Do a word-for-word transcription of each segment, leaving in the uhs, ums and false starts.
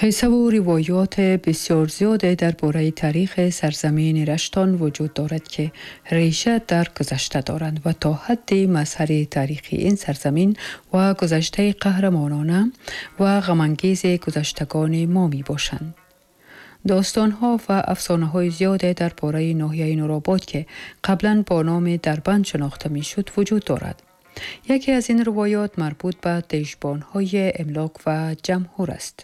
Қиссаву ривоёт бисёр зиёде дар бораи таърихи сарзамини Раштон вуҷуд дорад, ки реша дар гузашта доранд ва то ҳадди мазҳари таърихи ин сарзамин ва гузаштаи қаҳрамонона ва ғамангези гузаштагони мо мебошанд. Достонҳо ва афсонаҳои зиёде дар бораи ноҳияи Нуробод, ки қаблан бо номи Дарбанд шинохта мешуд, вуҷуд дорад. Яке аз ин ривоёт марбут ба дежбонҳои Имлок ва Ҷамҳур аст.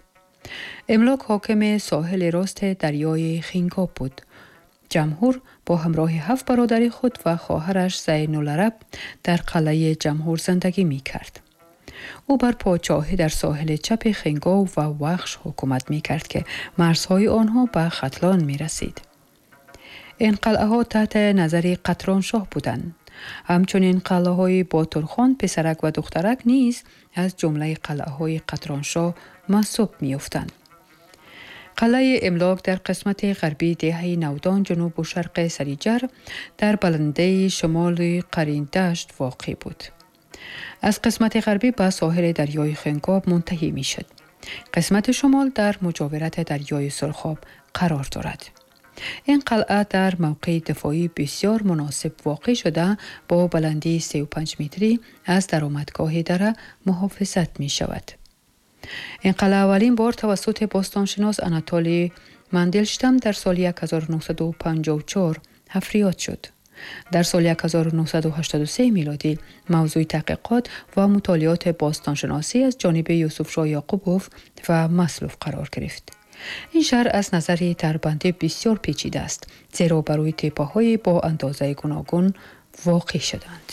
Имлок ҳокими соҳили рости дарёи Хингоб буд. Ҷамҳур бо ҳамроҳи ҳафт бародари худ ва хоҳараш Зайнулараб дар қалъаи Ҷамҳур зиндагӣ мекард. Ӯ бар подшоҳӣ дар соҳили чапи Хингоб ва Вахш ҳукумат мекард, ки марзҳои онҳо ба Хатлон мерасид. Ин қалъаҳо таҳти назари Қатроншоҳ буданд. Ҳамчунин қалъаҳои Ботурхон, писарак ва духтарак низ аз ҷумлаи қалъаҳои Қатроншоҳ маҳсуб меёфтанд. Қалъаи Имлок дар қисмати ғарбии деҳаи Навдон, ҷанубу шарқи Сариҷар, дар баландаи шимоли Қариндашт воқеъ буд. Аз қисмати ғарбӣ ба соҳили дарёи Хингоб мунтаҳӣ мешуд. Қисмати шимол дар муҷовирати дарёи Сурхоб қарор дорад. Ин қалъа дар мавқеи дифоӣ бисёр муносиб воқеъ шуда, бо баландии сию панҷ метрӣ аз даромадгоҳи дара муҳофизат мешавад. Ин қалъа аввалин бор тавассути бостоншинос Анатолий Мандельштам дар соли ҳазору нӯҳсаду панҷоҳу чор ҳафриёт шуд. Дар соли ҳазору нӯҳсаду ҳаштоду се милодӣ мавзӯи таҳқиқот ва мутолиоти бостоншиносӣ аз ҷониби Юсуфшоҳ Яқубов ва Маслов қарор гирифт. Ин шаҳр аз назари дарбандӣ бисёр печида аст, зеро ба рӯи теппаҳое бо андозаи гуногун воқеъ шуданд.